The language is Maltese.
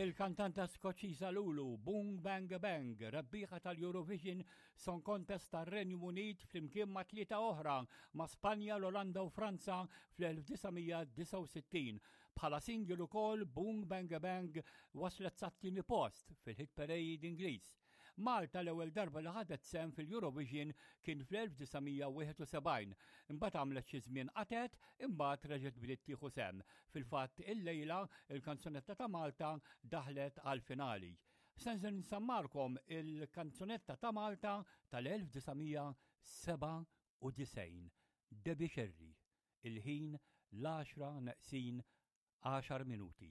Il-kantanta Skoċċiża Lulu, Boom Bang Bang, rebbieħa tal-Eurovision Song Contest tar-Renju Unit flimkien ma' tlieta oħra ma' Spanja, l-Olanda u Franza fl-1969. Bħala single ukoll Boom Bang Bang waslet sat-tieni post fil-hit parade Ingliż. Malta l-ewwel darba li ħadet sehem fil-Eurovision kien fl-1971. Imbagħad għamlet xi żmien qatet, imbagħad reġgħet bdiet tieħu sehem. Fil-fatt illejla il-kanzunetta ta' Malta daħlet għall-finali. Se nżel nsammarkom il-kanzunetta ta' Malta tal-1997. Debbie Scerri. Il-ħin l-għaxra neqsin għaxar minuti.